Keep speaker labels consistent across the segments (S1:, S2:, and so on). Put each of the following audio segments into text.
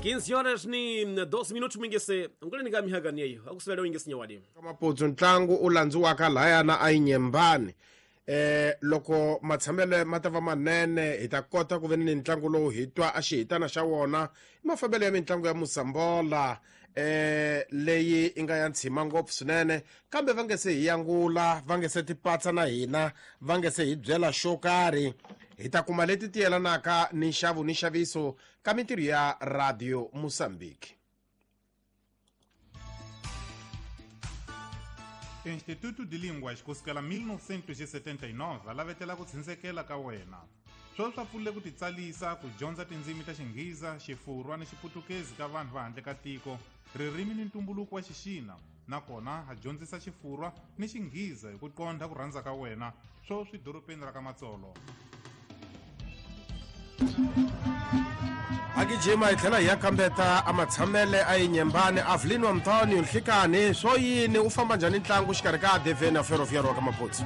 S1: 15 horas ni 12 minutos mingese nguleni ka mihagani yeyo akusivele wingese nyawadi
S2: Maputsu ntlangu u landziwaka lahayana a Yinyembani. Loko matshamelo ma ta va manene hi ta kota ku ve ni ntlangu lowu hi twa a xihitana xa wona i mafambelo ya mitlangu ya Musambola leyi i nga ya ntshima ngopfu swinene, kambe va nge se hi yangula, va nge se tipatsa na hina, va nge se hi byela xo karhi. Hi ta kuma leti ti yelanaka ni nxavo ni nxaviso ka mintirho ya Radio Mozambique.
S3: Instituto de Línguas kusukela 1979 alavetela ku tshindzekela ka wena. Sweswi swa pfulile ku titsalisa ku dyondza tindzimi ta Xinghiza, Xifurwa ni Xiputukezi ka vanhu va handle ka tiko, ririmi ni ntumbuluko wa Xixina, nakona a dyondzisa Xifurwa ni Xinghiza hi ku qondha ku rhandza ka wena, sweswi dorobeni ra ka Matsolo.
S2: Agijima hi tlhela hi ya kambeta a matshamele a Yinyembani. Avelino Antonio Nhlikani, swo yini u famba njhani ntlangu xikarhi ka ADV na Ferroviário wa ka Maputsu?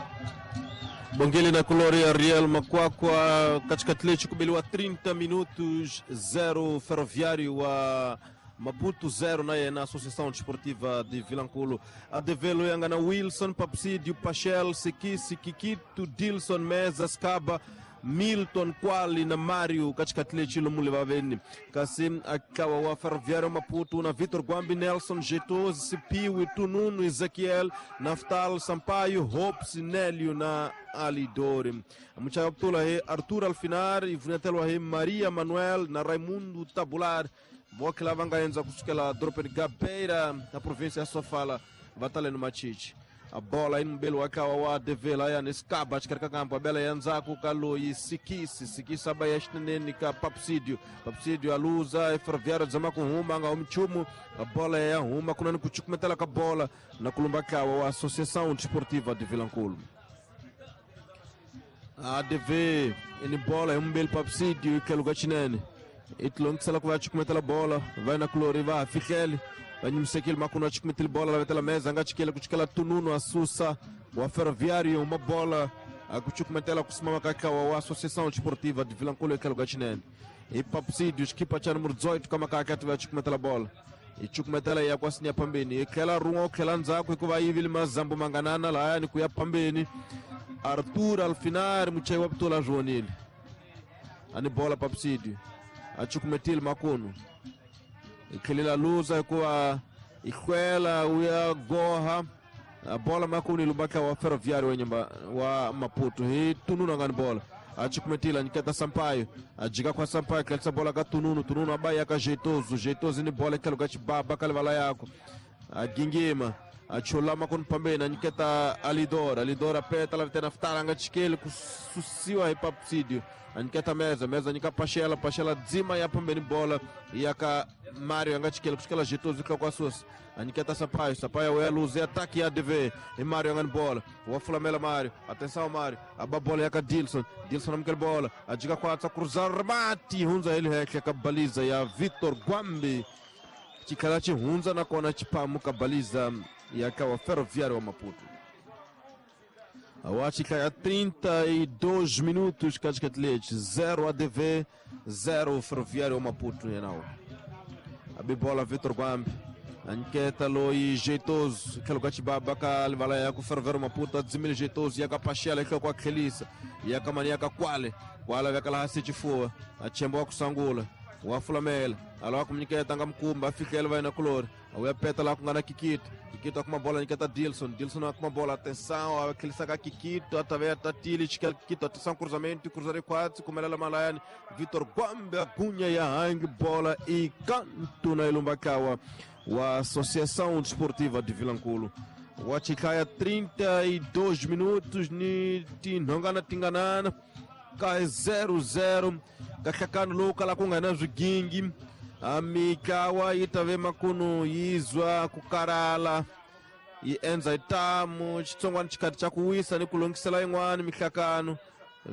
S4: Bongele na Colória Real Makwakwa katikati lechi kubeliwa 30 minutos 0 Ferroviário wa Maputo 0 na yena Associação Desportiva de Vilanculo. ADV loyanga na Wilson Papsídio Pachel Sikisi Kikito Dilson Meza Skaba Milton Kwali na Mário katikati lechi lomule vaveni kasi akawa wa Ferroviário Maputo na Vitor Guambi Nelson Jetoz Sipiwi Tununu Ezequiel Naftal Sampaio Hopes Nélio na Alidori. Muchaya putula he Arthur Alfinar e vunetelo he Maria Manuel na Raimundo Tabular voke lava nga endza kusukela dorobeni Gabeira na província ya Sofala va tale no Machichi. A bola aí no mbelo wakawa wa ADV lá nesse cabo acho que era campo a bela yanzaku kaloi Sikisi Sikisi abaya xinene ka Papsídio Papsídio aluza Ferroviário dzama kuhuma nga umchumu a bola ya huma kunani kuchukumetela ka bola na kulumba kawa wa Associação Desportiva de Vilanculo. ADV ini bola umbelo Papsídio ikeluka xinene itilongisela ku va chukumetela bola vai na kulori va fihlele vanyimisekile makuno achukumetile bola lavetela meza anga chikele kuchikela Tununu Asusa wa Ferroviário uma bola akuchukumetela kusimama kakawa wa Associação Desportiva de Vilanculo ekeluka xinene e Papsídio equipa cha número 18 kama kakati va chukumetela bola ichukumetela ya kwasinya pambeni ikhela run'wa ukhela ndzhaku hikuva yivile mazambu manganana lahayani ku ya pambeni. Arthur Alfinar muchayi wa putula zvonile ani bola Papsídio achukumetile makuno ikhelela luza hikuva ihlwela uya goha a bola makuno ilumbaka wa Ferroviário wa nyamba wa Maputo hi Tununu angani bola achukumetile aniketa Sampaio ajika kwa Sampaio kelisa bola ka Tununu Tununu abaya ka Jeitoso Jeitoso ni bola ikeluka chibaba kalivala yako agingima achula makuno pambeni aniketa Alidora Alidora peta la vitena ftara anga chikele kususiwa hi Papsídio aniketa meza meza anika Pachela Pachela dzima ya pambeni bola yaka Mário anga chikele kushikela Jeitoso kwa kwa aniketa Sampaio Sampaio é luz é ataque ya ADV e Mário anga bola o afulamela Mário atenção Mário a bola yaka Dilson Dilson amkele bola ajiga kwa cruzar remate hunza ele heke kabaliza ya Vitor Guambi chikala chihunza na kona chipamu kabaliza yaka wa Ferroviário wa Maputo. Awachika ya 32 minutos katikati 0 ADV 0 Ferroviário Maputo yenao. Abi bola Vitor Guambi anketa loi Jeitoso keluka chibaba kalivala ya ku Ferroviário Maputo adzimile Jeitoso yaka Pachela kwa kwa Kelisa yaka mani yaka Kwale Kwale yakala hasi chifua achembo wa kusangula wafulamela alawa kumnyiketa nga mkumba afikele vai na kulori awuyapeta lá kungana Kikito Kikito akuma bola niketa Dilson Dilson akuma bola atenção aquele saca Kikito atavea tatili Kikito atenção cruzamento cruzare quatro kumelela malayani Vitor Guambe agunha ya hang bola e canto na Ilumbakawa wa Associação Desportiva de Vilanculo. Wachikaya 32 minutos ni tinhongana tinganana ka 0-0 kahlakano lowu kala ku nga na swigingi amikawa yi ta ve makuno yizwa ku karala yi endza itamu xitsongwana xikati xa ku wisa ni ku longisela yin'wana mihlakano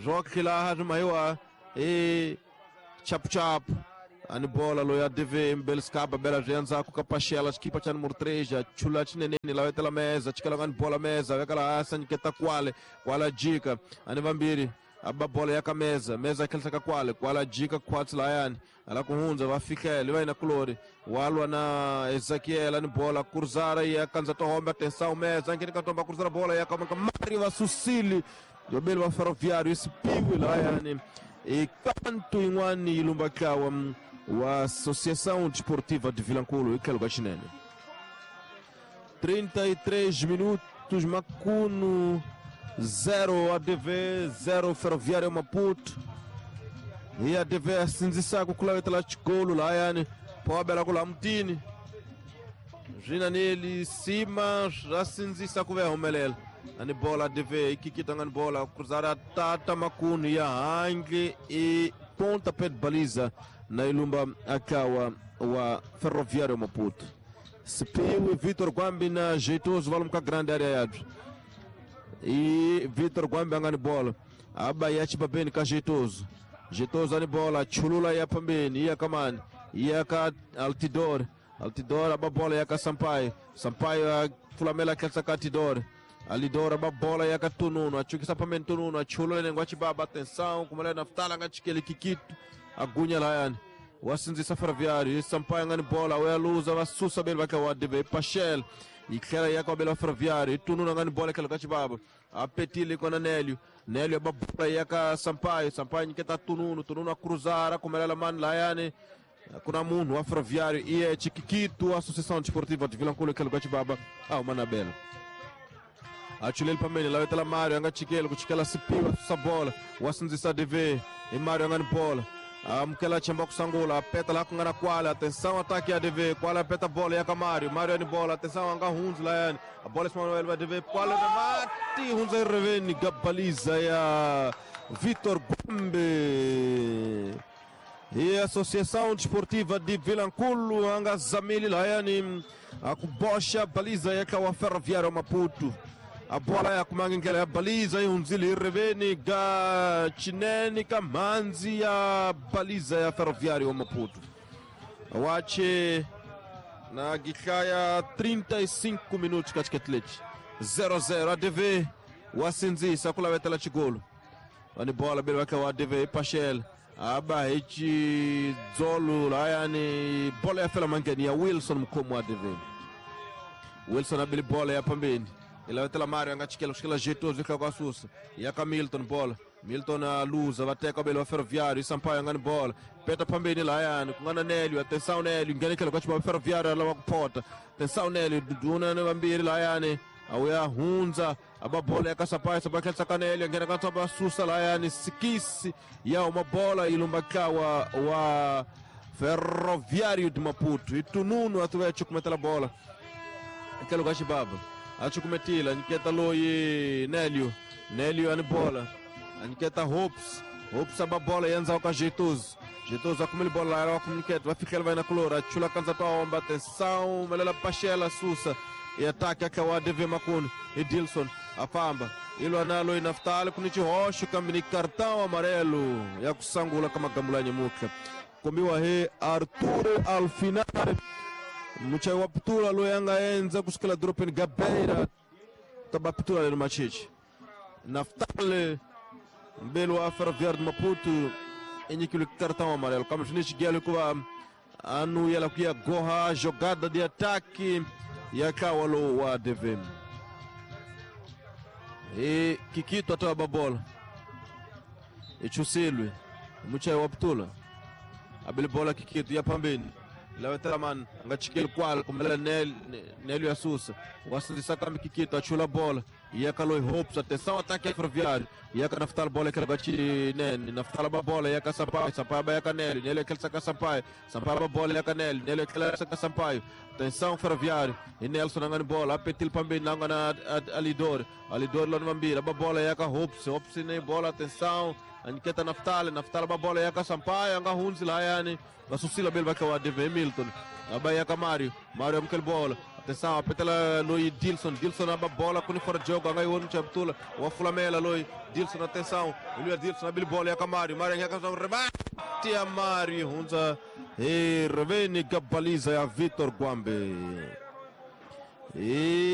S4: swo khilaha swi mayiwa i chapuchapu ani bola loyi a DV Mbelskaba bela swi endzhaku ka Pachela xikipa xa número 3 chula xineneni lavetela meza chikela ngani bola meza vekala hansi a nyiketa Kwale Kwale jika ani vambirhi Aba bola ya ka meza meza khelisa kwale kwala jika kwatsi layani ala kuhundza va fikele va yina kulori walwa na Ezekiel ni bola kurzara ya kanza tohomba atenção meza ngene katomba kurzara bola ya kama Mario va susili yobeli va Ferroviário isipiwe layani e kanto yin'wani yi lumba ntlawa wa Associação Desportiva de Vilankulo hi tlhelo ka xinene. 33 minutos, Macuno 0 ADV 0 Ferroviário Maputo. E ADV asindzisaka ku lavetela xikolo lahayani phobela ku laha mutini swina neli sima swa sindzisa ku va ya humelela ani bola ADV yi kikita nga ni bola cruzara tata Macuno ya handle i pontapé de baliza na ilumba akawa wa Ferroviário Maputo. Sipiwe Vitor Gwambi na Jeitoso va lomu ka grande área yabyo. E Vitor Gwambi anga ni bola aba ya chibabeni ka Jeitoso. Jeitoso ani bola chulula ya pambeni ya kamani ya ka Altidor. Altidor aba bola ya ka Sampaio. Sampaio fulamela kelsa ka Altidor. Alidor aba bola ya ka Tununo achukisa pambeni Tununo achulula nengwa chibaba atenção kumela naftala nga chikele kikito agunya layani wasindzisa Ferroviário Sampaio nga ni bola uyaluza vasusa beli vaka wa ADV Pachel itlhela ya ka bela Ferroviário itununa nga ni bola tlhelo ka chibaba apetile kona Nélio Nélio aba bola ya ka Sampaio Sampaio nyiketa Tununo Tununo a cruzar kumelela mani layani kuna munhu wa Ferroviário iye Chiquiquito Associação Desportiva de Vilankulo tlhelo ka chibaba a huma na bela achuleli pambeni lavetela Mário anga chikele ku chikela Sipiwa susa bola wasindzisa ADV i Mário anga ni bola amukela chemba kusangula apeta la ku nga na kwala atenção ataque ya ADV kwala apeta bola ya ka Mário Mário ani bola atenção anga hundzi layani a bola Ismael va ADV kwala na mati hundza ireveni gabaliza ya Vitor Gombe e Associação Desportiva de Vilankulo anga zamili layani akuboxa baliza ya ka wa Ferroviário Maputo. A bola ya kumanga ndlela ya baliza yi hundzile hi riveni ga chinene ka mhandzi ya baliza ya Ferroviário Maputo. Wache na gihlaya 35 minutos ka xiketleti 0-0 ADV wasindzisa ku lavetela xigolo vani bola beli va wa ADV Pachel aba hi xidzolo layani bola ya fela mangheni ya Wilson mukhomi wa ADV. Wilson abili bola ya pambeni ilavetela Mário anga chikela kuchikela Jeitoso ihloko asusa ya ka Milton bola Milton aluza vateka belo wa Ferroviário Sampaio anga ni bola peta pambeni layani ku nga na Nélio atenção Nélio nghena tlhelo ka xibaba Ferroviário lava ku phota atenção Nélio duduna ni vambirhi layani awuya hundza aba bola ya ka Sampaio Sampaio tlhelisa ka Nélio nghena ka ntsomba asusa layani sikisi ya huma bola yi lumba ntlawa wa Ferroviário de Maputo itununu atuva ya chukumetela bola tlhelo ka xibaba achukumetile anyiketa loyi Nélio Nélio ani bola anyiketa Hopes Hopes aba bola ya ndzhaku ka Jeitoso Jeitoso akumile bola la wa kumniketa va fikela va yina kulori achula kandza twa omba atenção melela Pachela susa e ataque aka wa ADV Macuno e Dilson afamba ilwa nalo inaftali kuni xihoxo kambe ni cartão amarelo ya kusangula ka magambula nyemutlha kombiwa hi Arthur Alfinare muchayi wa pitula loyi a nga endza kusukela dorobeni Gabeira taba pitula lero machichi Naftali mbeli wa Ferroviário de Maputo i nyikiwile cartão amarelo kambe swi ni xigelo hikuva a nuyela ku ya goha jogada de ataque ya ntlawa lowu wa ADV. E Kikito atava bola i chusilwe muchayi wa pitula abele bola Kikito ya pambeni lavetela mani anga chikeli kwala kumela Nélio asusa wasindzisa kambe Kikito achula bola yaka loyi Hopes atenção ataque ya Ferroviário yaka Naftali bola ekela ka Chinene Naftali ba bola yaka Sampaio Sampaio ba yaka Nélio Nélio ekela ka Sampaio Sampaio ba bola yaka Nélio Nélio ekela ka Sampaio atenção Ferroviário e Nelson anga ni bola apetil pambeni anga na Alidor Alidor lona mambira ba bola yaka Hopes Hopes ni bola atenção anyiketa Naftali Naftali ba bola yaka Sampaio anga hundzi layani vasusila beli vaka wa ADV Milton aba yaka Mário Mário amukela bola atenção apetela loyi Dilson Dilson aba bola kuni fora de jogo anga iwoni chaptula wa fulamela loyi Dilson atenção iluya Dilson abili bola yaka Mário Mário yaka rebate ya Mário hunza e reveni gabaliza ya Vitor Gwambe e